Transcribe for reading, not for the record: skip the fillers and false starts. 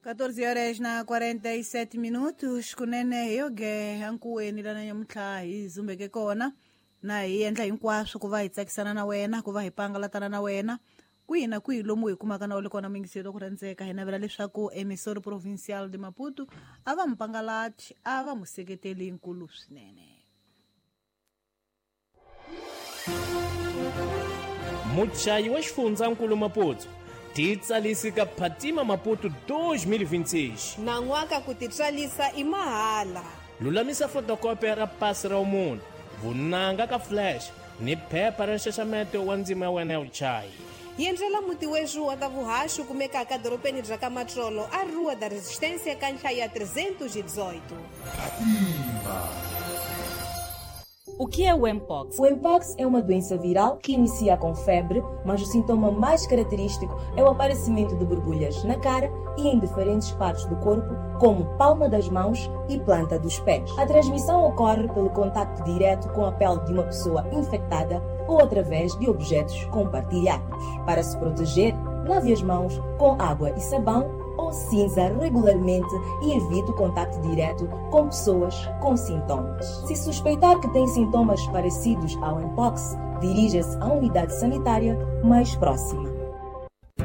14 horas na 47 minutos kunene hi yoge ankuweni lana nyamuntlha hi zumbeke kona na hi endla hinkwaswo ku va hi tsakisana na wena, ku va hi pangalatana na wena kwihi na kwihi lomu hi kumaka na u le kona muyingiseri wa ku rhandzeka. Hi navela leswaku Emissora Provincial de Maputo a va mupangalati, a va museketeli nkulu swinene. Muchayi wa xifundzankulu Maputo titsalisi ka Phatima Maputo 2026. Nan'waka ku titswalisa i mahala. Lulamisa fotokopi ra pasi ra munhu, vunanga ka flash ni phepha ra nxaxameto wa ndzima ya wena ya vuchayi. Yendlela muti wexu wa ta vuhaxi kumekaka dorobeni bya ka Matsolo a Rua da Resistência ka nhlaya 318. O que é o Mpox? O Mpox é uma doença viral que inicia com febre, mas o sintoma mais característico é o aparecimento de borbulhas na cara e em diferentes partes do corpo, como palma das mãos e planta dos pés. A transmissão ocorre pelo contacto direto com a pele de uma pessoa infectada ou através de objetos compartilhados. Para se proteger, lave as mãos com água e sabão ou cinza regularmente e evite o contato direto com pessoas com sintomas. Se suspeitar que tem sintomas parecidos ao Mpox, dirija-se à unidade sanitária mais próxima.